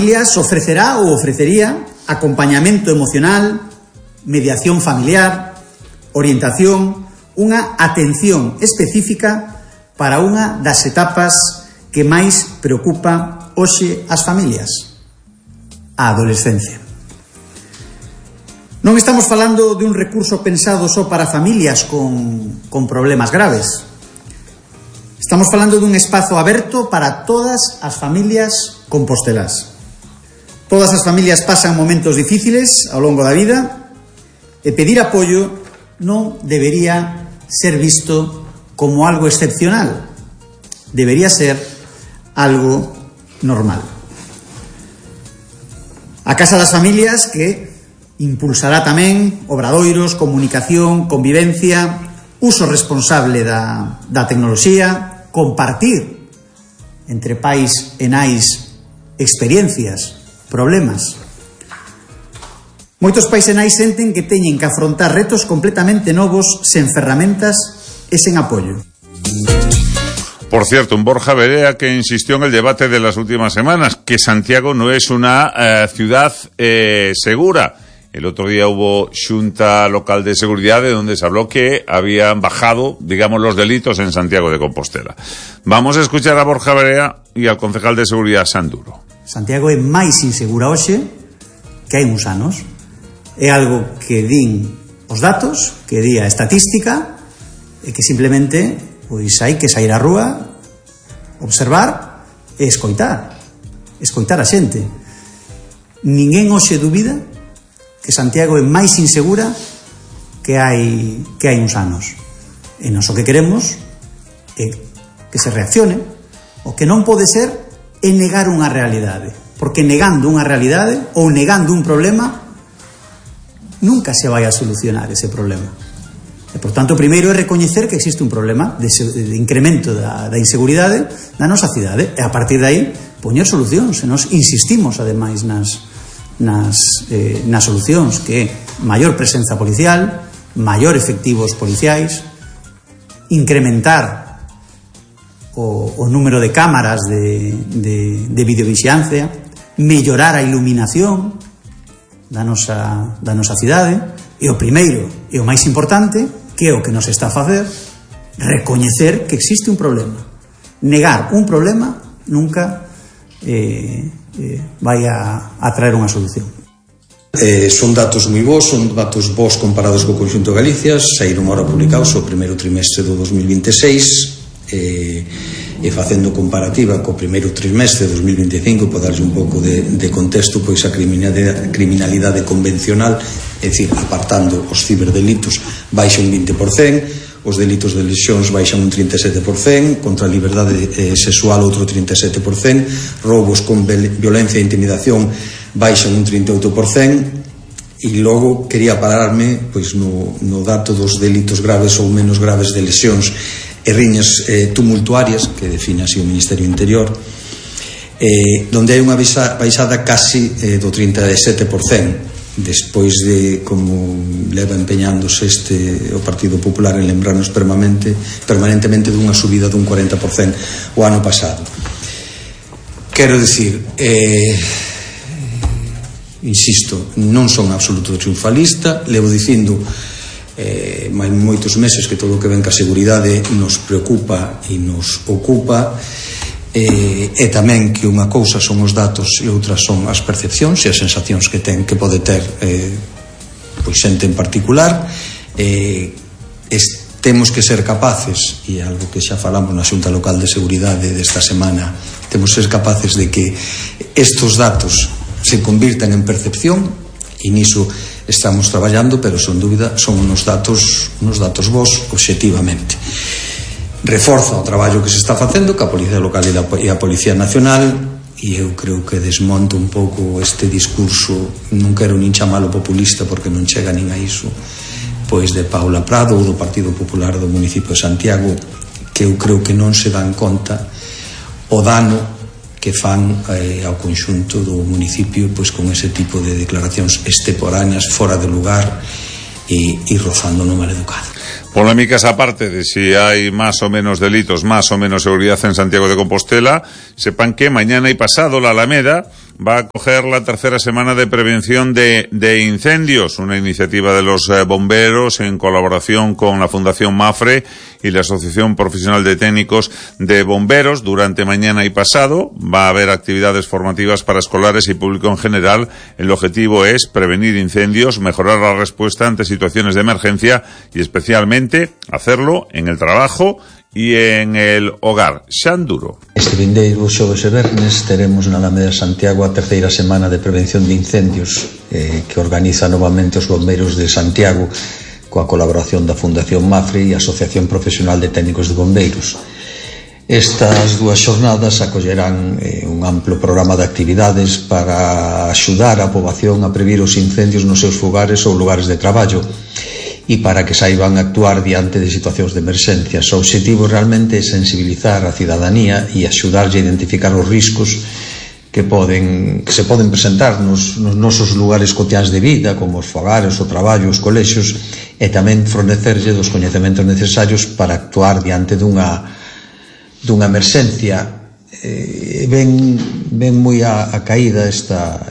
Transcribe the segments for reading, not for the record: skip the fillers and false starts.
Familias ofrecerá ou ofrecería acompañamento emocional, mediación familiar, orientación, unha atención específica para unha das etapas que máis preocupa hoxe as familias, a adolescencia. Non estamos falando de un recurso pensado só para familias con problemas graves. Estamos falando dun espazo aberto para todas as familias compostelás. Todas as familias pasan momentos difíciles ao longo da vida e pedir apoio non debería ser visto como algo excepcional. Debería ser algo normal. A Casa das Familias que impulsará tamén obradoiros, comunicación, convivencia, uso responsable da tecnoloxía, compartir entre pais e nais experiencias, problemas. Moitos pais e nais senten que teñen que afrontar retos completamente novos, sen ferramentas e sen apoio. Por cierto, un Borja Verea que insistió en el debate de las últimas semanas, que Santiago no es una ciudad segura. El otro día hubo Xunta Local de Seguridad donde se habló que habían bajado, digamos, los delitos en Santiago de Compostela. Vamos a escuchar a Borja Verea y al concejal de Seguridad, Sanduro. Santiago é máis insegura hoxe que hai uns anos. É algo que din os datos, que di a estatística, e que simplemente pois hai que sair á rúa, observar e escoitar a xente. Ninguén hoxe dubida que Santiago é máis insegura que hai uns anos. E nós o que queremos é que se reaccione. O que non pode ser é negar unha realidade, porque negando unha realidade ou negando un problema nunca se vai a solucionar ese problema. E, por tanto, primeiro é recoñecer que existe un problema de incremento da inseguridade na nosa cidade e a partir de aí poñer solucións. E nós insistimos ademais nas solucións, que é maior presenza policial, maior efectivos policiais, incrementar o número de cámaras de videovixiancia, mellorar a iluminación da nosa cidade, e o primeiro e o máis importante, que é o que nos está a facer, recoñecer que existe un problema. Negar un problema nunca vai a traer unha solución. Son datos moi bons, son datos bons comparados co conxunto de Galicia. Saíron ahora publicados o primeiro trimestre do 2026 e facendo comparativa co primeiro trimestre de 2025, por darlle un pouco de contexto, pois a criminalidade convencional, é dicir, apartando os ciberdelitos, baixa un 20%, os delitos de lesións baixan un 37%, contra a liberdade sexual outro 37%, roubos con violencia e intimidación baixan un 38%, e logo quería pararme pois no dato dos delitos graves ou menos graves de lesións e riñas tumultuarias, que define así o Ministerio Interior, donde hai unha baixada casi do 37%, despois de como leva empeñándose o Partido Popular en lembrarnos permanentemente dunha subida dun 40% o ano pasado. Quero dicir, insisto, non son absoluto triunfalista, levo dicindo moitos meses que todo o que ven ca seguridade nos preocupa e nos ocupa, e tamén que unha cousa son os datos e outras son as percepcións e as sensacións que pode ter pois xente en particular. Temos que ser capaces, e algo que xa falamos na Xunta Local de Seguridade desta semana, temos que ser capaces de que estos datos se convirtan en percepción, e niso estamos traballando, pero son dúbida son unos datos bons obxectivamente. Reforza o traballo que se está facendo ca Policía Local e a Policía Nacional, e eu creo que desmonto un pouco este discurso, non quero nin chamalo populista porque non chega nin a iso, pois de Paula Prado ou do Partido Popular do municipio de Santiago, que eu creo que non se dan conta o dano que fan ao conxunto do municipio pois con ese tipo de declaracións extemporáneas, fora de lugar e rozando no mal educado. Polémicas aparte de si hay más o menos delitos, más o menos seguridad en Santiago de Compostela, sepan que mañana y pasado la Alameda va a acoger la tercera semana de prevención de incendios, una iniciativa de los bomberos en colaboración con la Fundación Mafre y la Asociación Profesional de Técnicos de Bomberos. Durante mañana y pasado va a haber actividades formativas para escolares y público en general. El objetivo es prevenir incendios, mejorar la respuesta ante situaciones de emergencia y especialmente hacerlo en el trabajo y en el hogar. Xanduro. Este vindeiro xoves e vernes teremos na Alameda de Santiago a terceira semana de prevención de incendios que organiza novamente os bombeiros de Santiago coa colaboración da Fundación Mafre e a Asociación Profesional de Técnicos de Bombeiros. Estas dúas xornadas acollerán un amplo programa de actividades para axudar a poboación a previr os incendios nos seus fogares ou lugares de traballo e para que saiban actuar diante de situacións de emerxencia. O obxectivo realmente é sensibilizar a cidadanía e axudarlle a identificar os riscos que se poden presentar nos nosos lugares cotiáns de vida, como os fogares, o traballo, os colexios, e tamén fornecerlle dos coñecementos necesarios para actuar diante dunha emerxencia. Ven moi a caída esta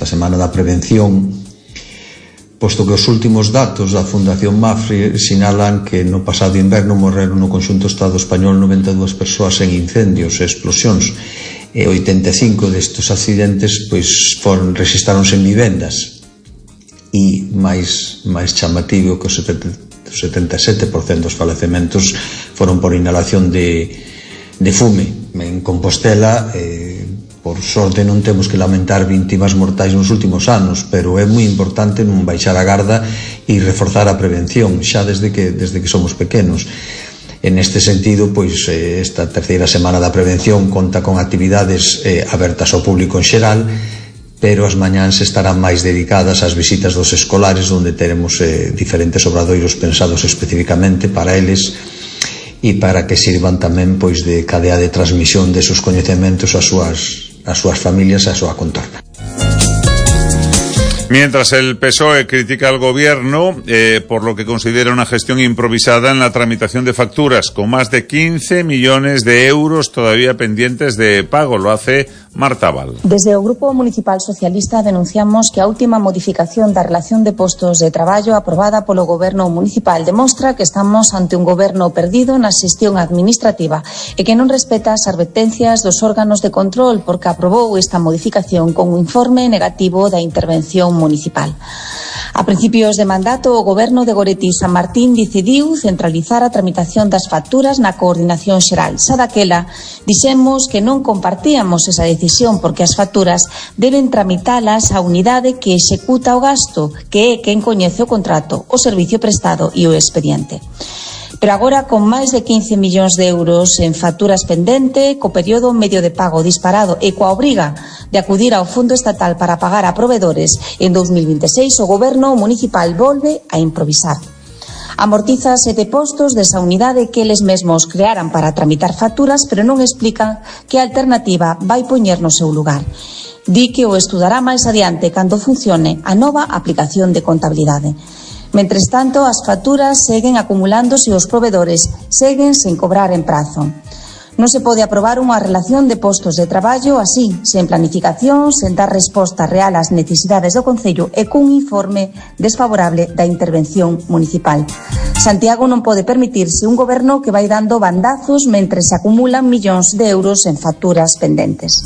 semana da prevención, posto que os últimos datos da Fundación Mafre sinalan que no pasado inverno morreron no conxunto Estado español 92 persoas en incendios e explosións, e 85 destes accidentes rexistraronse en vivendas, e máis chamativo que o 77% dos falecementos foron por inhalación de fume. En Compostela, por sorte, non temos que lamentar vítimas mortais nos últimos anos, pero é moi importante non baixar a garda e reforzar a prevención xa desde que somos pequenos. En este sentido, esta terceira semana da prevención conta con actividades abertas ao público en xeral, pero as mañáns estarán máis dedicadas ás visitas dos escolares, onde teremos diferentes obradoiros pensados especificamente para eles e para que sirvan tamén de cadea de transmisión desos coñecementos ás súas familias e a súa contorna. Mientras el PSOE critica al gobierno por lo que considera una gestión improvisada en la tramitación de facturas, con más de 15 millones de euros todavía pendientes de pago. Lo hace Marta Val. Desde o Grupo Municipal Socialista denunciamos que a última modificación da relación de postos de traballo aprobada polo Goberno Municipal demostra que estamos ante un goberno perdido na xestión administrativa e que non respeta as advertencias dos órganos de control, porque aprobou esta modificación con un informe negativo da intervención municipal. A principios de mandato, o Goberno de Goretti San Martín decidiu centralizar a tramitación das facturas na Coordinación Xeral. Xa daquela dixemos que non compartíamos esa decisión, porque as facturas deben tramitalas a unidade que executa o gasto, que é quen coñece o contrato, o servicio prestado e o expediente. Pero agora, con máis de 15 millóns de euros en facturas pendente, co período medio de pago disparado e coa obriga de acudir ao Fondo Estatal para pagar a provedores en 2026, o Goberno Municipal volve a improvisar. Amortiza 7 postos desa unidade que eles mesmos crearan para tramitar facturas, pero non explican que alternativa vai poñer no seu lugar. Di que o estudará máis adiante cando funcione a nova aplicación de contabilidade. Mentres tanto, as facturas seguen acumulándose e os provedores seguen sen cobrar en prazo. Non se pode aprobar unha relación de postos de traballo así, sen planificación, sen dar resposta real ás necesidades do Concello e cun informe desfavorable da intervención municipal. Santiago non pode permitirse un goberno que vai dando bandazos mentres se acumulan millóns de euros en facturas pendentes.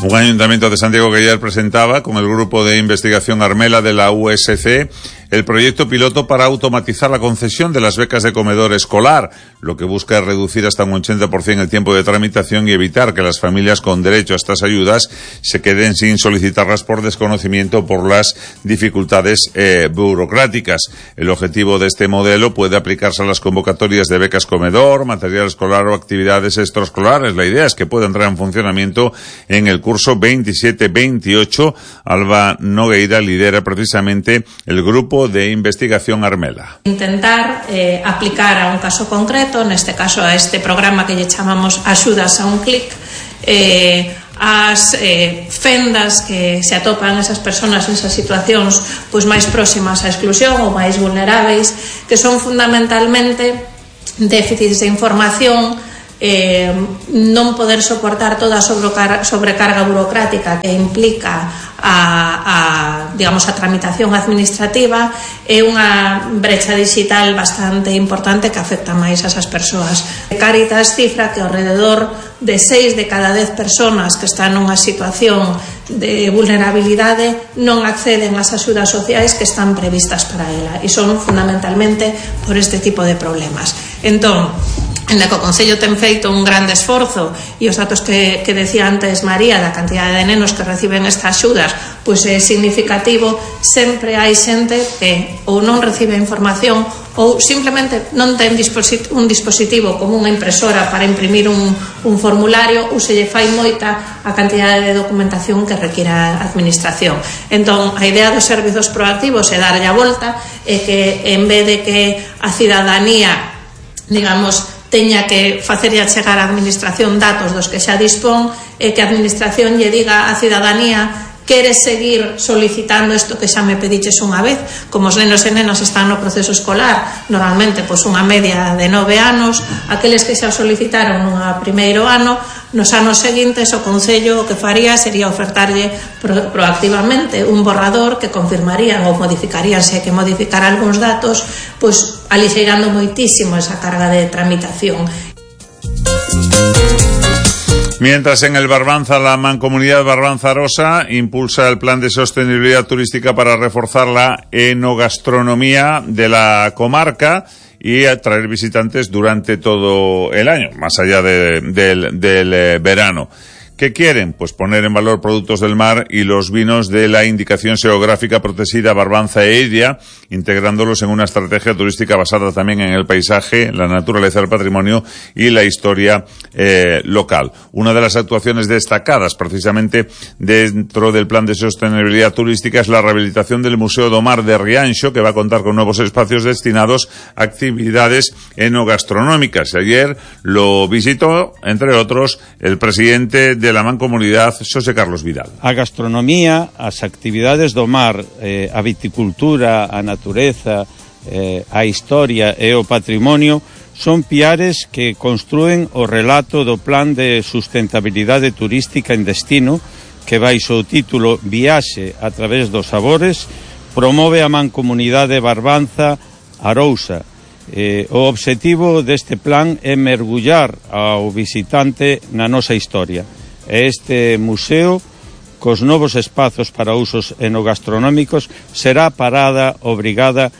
Un ayuntamiento de Santiago que ayer presentaba con el grupo de investigación Armela de la USC el proyecto piloto para automatizar la concesión de las becas de comedor escolar, lo que busca es reducir hasta un 80% el tiempo de tramitación y evitar que las familias con derecho a estas ayudas se queden sin solicitarlas por desconocimiento o por las dificultades burocráticas. El objetivo de este modelo puede aplicarse a las convocatorias de becas comedor, material escolar o actividades extraescolares. La idea es que pueda entrar en funcionamiento en el curso 27-28. Alba Nogueira lidera precisamente el grupo de investigación Armela. Intentar aplicar a un caso concreto, neste caso a este programa que lle chamamos Axudas a un clic, as fendas que se atopan esas persoas nesas situacións pois máis próximas á exclusión ou máis vulneráveis, que son fundamentalmente déficits de información, non poder soportar toda a sobrecarga burocrática que implica digamos, a tramitación administrativa, é unha brecha digital bastante importante que afecta máis a esas persoas. Cáritas cifra que ao rededor de 6 de cada 10 persoas que están nunha situación de vulnerabilidade non acceden ás axudas sociais que están previstas para ela, e son fundamentalmente por este tipo de problemas. Entón, en que o Concello ten feito un grande esforzo, e os datos que decía antes María da cantidade de nenos que reciben estas axudas pois é significativo. Sempre hai xente que ou non recibe información ou simplemente non ten un dispositivo como unha impresora para imprimir un formulario, ou se lle fai moita a cantidade de documentación que require a administración. Entón, a idea dos servizos proactivos é darlle a volta, e que en vez de que a cidadanía, digamos, teña que facerlle chegar á administración datos dos que xa dispón, e que a administración lle diga á cidadanía: queres seguir solicitando isto que xa me pediches unha vez? Como os nenos e nenas están no proceso escolar, normalmente pois unha media de 9 anos, aqueles que xa solicitaron no primeiro ano, nos anos seguintes o Concello o que faría sería ofertarlle proactivamente un borrador que confirmarían ou modificarían, se hai que modificar algúns datos, pois alixeirando moitísimo esa carga de tramitación. Mientras en el Barbanza, la Mancomunidad Barbanza-Arosa impulsa el plan de sostenibilidad turística para reforzar la enogastronomía de la comarca y atraer visitantes durante todo el año, más allá del verano. ¿Qué quieren? Pues poner en valor productos del mar y los vinos de la indicación geográfica protegida Barbanza e Iria, integrándolos en una estrategia turística basada también en el paisaje, la naturaleza, el patrimonio y la historia local. Una de las actuaciones destacadas precisamente dentro del plan de sostenibilidad turística es la rehabilitación del Museo do Mar de Rianxo, que va a contar con nuevos espacios destinados a actividades enogastronómicas. Ayer lo visitó, entre otros, el presidente de la Mancomunidad, Xosé Carlos Vidal. A gastronomía, as actividades do mar, a viticultura, a natureza, a historia e o patrimonio son piares que construen o relato do plan de sustentabilidade turística en destino, que baixo o título Viaxe a través dos sabores promove a Mancomunidade Barbanza-Arousa. O obxectivo deste plan é mergullar ao visitante na nosa historia. Este museo, cos novos espazos para usos enogastronómicos, será parada obrigada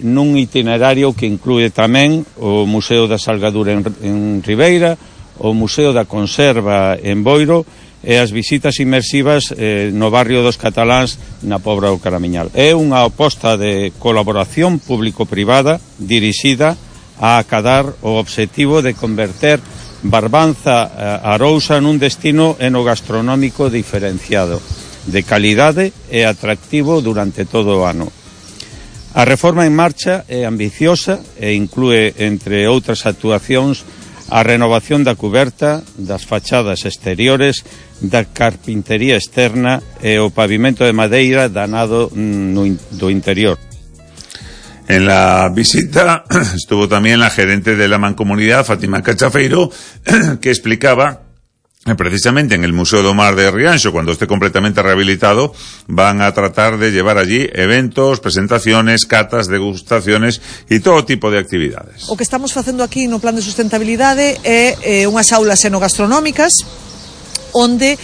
nun itinerario que inclúe tamén o Museo da Salgadura en Ribeira, o Museo da Conserva en Boiro e as visitas inmersivas no barrio dos Cataláns na Pobra do Caramiñal. É unha aposta de colaboración público-privada dirixida a acadar o obxectivo de converter Barbanza-Arousa nun destino enogastronómico diferenciado, de calidade e atractivo durante todo o ano. A reforma en marcha é ambiciosa e inclúe, entre outras actuacións, a renovación da cuberta, das fachadas exteriores, da carpintería externa e o pavimento de madeira danado do interior. En la visita estuvo también la gerente de la Mancomunidad, Fátima Cachafeiro, que explicaba precisamente en el Museo do Mar de Rianxo, cuando esté completamente rehabilitado, van a tratar de llevar allí eventos, presentaciones, catas, degustaciones y todo tipo de actividades. O que estamos facendo aquí no plan de sustentabilidade é unhas aulas enogastronómicas onde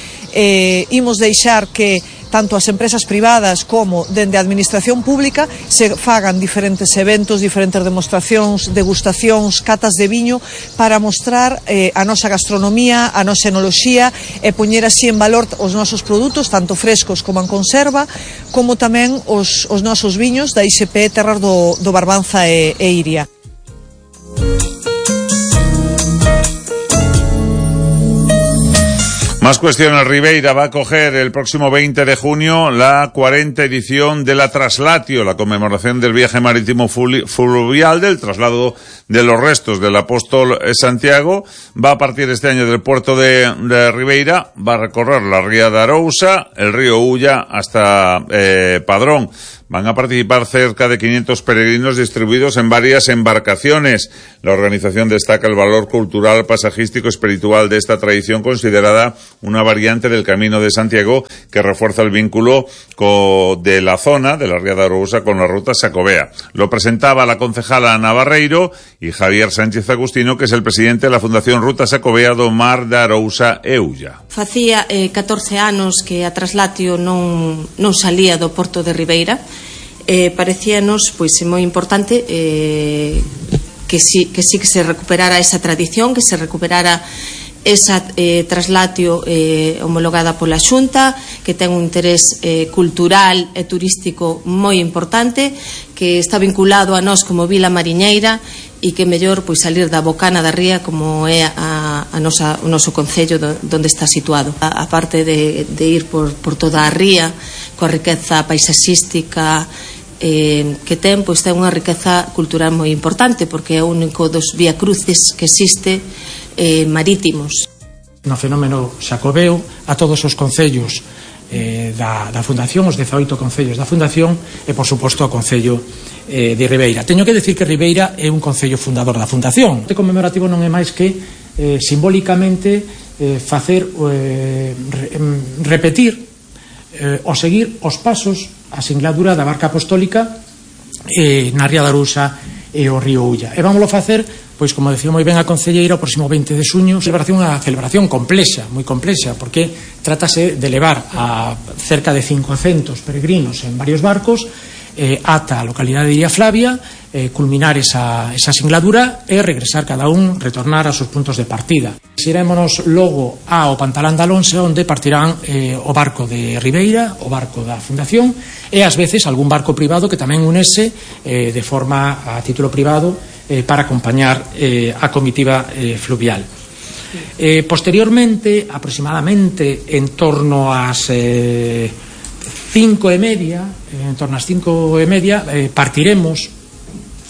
imos deixar que tanto as empresas privadas como dende a administración pública se fagan diferentes eventos, diferentes demostracións, degustacións, catas de viño para mostrar a nosa gastronomía, a nosa enoloxía e poñer así en valor os nosos produtos, tanto frescos como en conserva, como tamén os nosos viños da ISP Terras do Barbanza e Iria. Más cuestiones. Ribeira va a acoger el próximo 20 de junio la 40 edición de la Traslatio, la conmemoración del viaje marítimo fluvial del traslado de los restos del apóstol Santiago. Va a partir este año del puerto de Ribeira, va a recorrer la ría de Arousa, el río Ulla hasta Padrón. van a participar cerca de 500 peregrinos distribuidos en varias embarcaciones. La organización destaca el valor cultural, pasajístico, espiritual de esta tradición, considerada una variante del Camino de Santiago que refuerza el vínculo de la zona de la Ría de Arousa con la ruta Xacobea. Lo presentaba la concejala Ana Barreiro y Javier Sánchez Agustino, que es el presidente de la Fundación Ruta Xacobea do Mar de Arousa e Ulla. Facía 14 anos que a Traslatio non salía do Porto de Ribeira. Parecíanos pois moi importante que sí que se recuperara esa tradición, que se recuperara esa Traslatio homologada pola Xunta, que ten un interés cultural e turístico moi importante, que está vinculado a nós como Vila Mariñeira e que mellor pois salir da bocana da ría como é o noso concello onde está situado. A parte de ir por toda a ría coa riqueza paisaxística que ten, pois ten unha riqueza cultural moi importante, porque é o único dos viacrucis que existe marítimos. No fenómeno xacobeo, a todos os concellos da Fundación, os 18 concellos da Fundación e, por suposto, ao Concello de Ribeira. Teño que decir que Ribeira é un concello fundador da Fundación. O conmemorativo non é máis que simbólicamente facer repetir ou seguir os pasos, a singladura da barca apostólica na Ría de Arousa e o río Ulla. E vámoslo facer, pois, como decía moi ben a concelleira, o próximo 20 de xuño, unha celebración complexa, moi complexa, porque trátase de levar a cerca de 500 peregrinos en varios barcos ata a localidade de Illa Flavia, culminar esa singladura e regresar cada un, retornar aos seus puntos de partida. Irémonos logo ao Pantalán da Alonsa, onde partirán o barco de Ribeira, o barco da Fundación, e ás veces algún barco privado que tamén unese de forma a título privado para acompañar a comitiva fluvial. Posteriormente, aproximadamente en torno ás 5:30, partiremos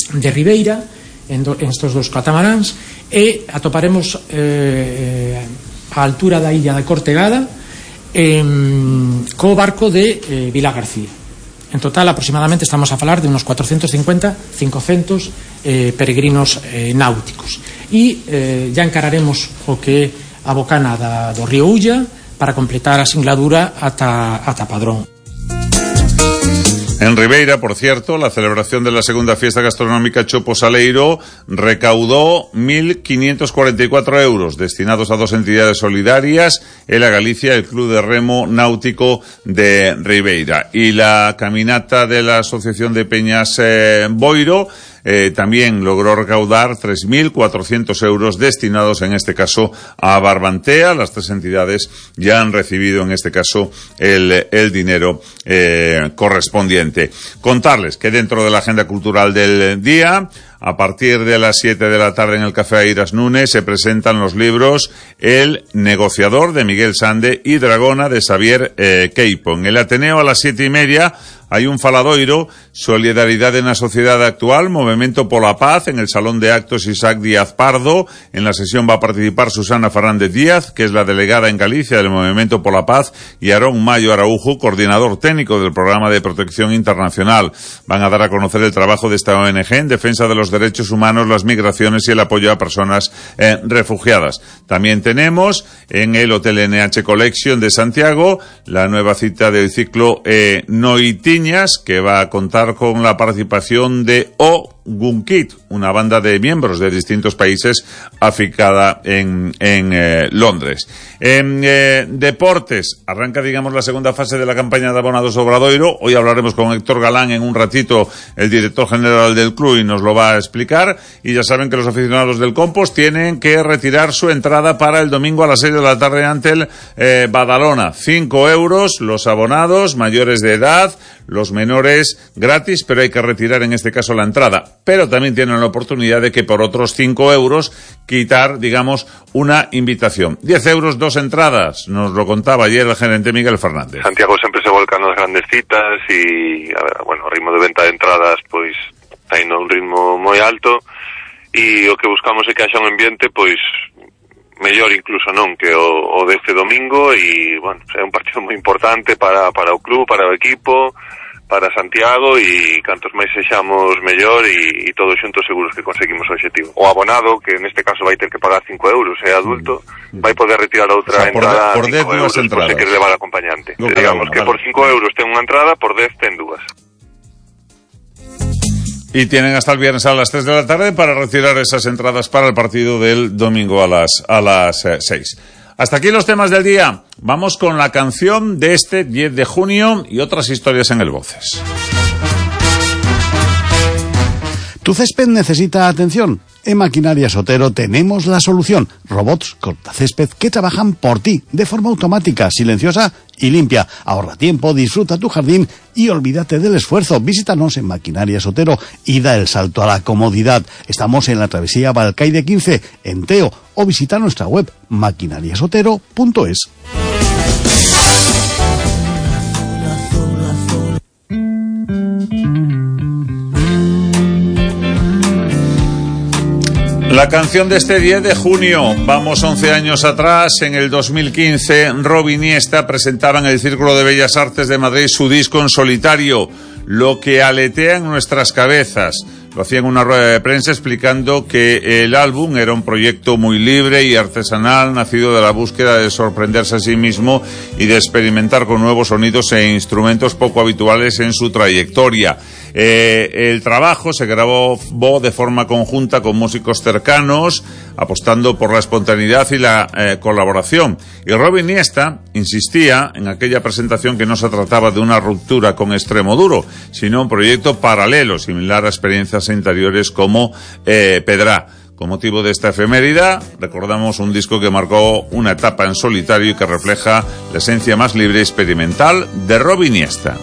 de Ribeira en estos dos catamaráns e atoparemos a altura da illa de Cortegada co barco de Vila García. En total, aproximadamente, estamos a falar de unos 450-500 peregrinos náuticos. E ya encararemos o que a bocana do río Ulla para completar a singladura ata Padrón. En Ribeira, por cierto, la celebración de la segunda fiesta gastronómica Chopo Saleiro recaudó 1.544 euros destinados a dos entidades solidarias, la Galicia y el Club de Remo Náutico de Ribeira. Y la caminata de la Asociación de Peñas Boiro también logró recaudar 3.400 euros destinados, en este caso, a Barbantea. Las tres entidades ya han recibido, en este caso, el dinero correspondiente. Contarles que dentro de la agenda cultural del día, a partir de las 7 de la tarde en el Café Airas Núñez se presentan los libros El negociador, de Miguel Sande, y Dragona, de Xavier Queipo. En el Ateneo, a las 7:30, hay un faladoiro, Solidaridade na sociedade actual, Movimento pola Paz, en el Salón de Actos Isaac Díaz Pardo. En la sesión va a participar Susana Fernández Díaz, que es la delegada en Galicia del Movimento pola Paz, y Aarón Mayo Araujo, coordinador técnico del Programa de Protección Internacional. Van a dar a conocer el trabajo de esta ONG en defensa de los derechos humanos, las migraciones y el apoyo a personas refugiadas. También tenemos en el Hotel NH Collection de Santiago la nueva cita del ciclo Noitiñas, que va a contar con la participación de Gunkit, una banda de miembros de distintos países aficada en Londres. En deportes, arranca, digamos, la segunda fase de la campaña de abonados Obradoiro. Hoy hablaremos con Héctor Galán en un ratito, el director general del club, y nos lo va a explicar. Y ya saben que los aficionados del Compost tienen que retirar su entrada para el domingo a las 6 de la tarde ante el Badalona. 5 euros los abonados mayores de edad, los menores gratis, pero hay que retirar en este caso la entrada. Pero también tienen la oportunidad de que por otros 5 euros quitar, digamos, una invitación. 10 euros, 2 entradas, nos lo contaba ayer el gerente Miguel Fernández. Santiago sempre se volca nas grandes citas e, o ritmo de venta de entradas, pois, está indo a un ritmo moi alto, e o que buscamos é que haxa un ambiente, pois, mellor incluso non que o deste domingo, e, é un partido moi importante para o club, para o equipo, para Santiago, e cantos máis sexamos mellor, e todos xuntos seguros que conseguimos o objetivo. O abonado, que neste caso vai ter que pagar 5 euros, é adulto, vai poder retirar outra entrada por 10 euros, entradas. Por se quer levar acompañante. Digamos que por 5 euros ten unha entrada, por 10 ten dúas. Y tienen hasta el viernes a las 3 de la tarde para retirar esas entradas para el partido del domingo a las 6. Hasta aquí los temas del día. Vamos con la canción de este 10 de junio y otras historias en el Voces. ¿Tu césped necesita atención? En Maquinarias Otero tenemos la solución. Robots cortacésped que trabajan por ti, de forma automática, silenciosa y limpia. Ahorra tiempo, disfruta tu jardín y olvídate del esfuerzo. Visítanos en Maquinarias Otero y da el salto a la comodidad. Estamos en la travesía Balcaide 15, en Teo, o visita nuestra web maquinariasotero.es. La canción de este 10 de junio. Vamos 11 años atrás. En el 2015, Rob y Niesta presentaban en el Círculo de Bellas Artes de Madrid su disco en solitario, Lo que aletea en nuestras cabezas. Lo hacía en una rueda de prensa explicando que el álbum era un proyecto muy libre y artesanal, nacido de la búsqueda de sorprenderse a sí mismo y de experimentar con nuevos sonidos e instrumentos poco habituales en su trayectoria. El trabajo se grabó de forma conjunta con músicos cercanos, apostando por la espontaneidad y la colaboración. Y Rob Iniesta insistía en aquella presentación que no se trataba de una ruptura con Extremoduro, sino un proyecto paralelo, similar a experiencias interiores como Pedrá. Con motivo de esta efeméride, recordamos un disco que marcó una etapa en solitario y que refleja la esencia más libre y experimental de Rob Iniesta.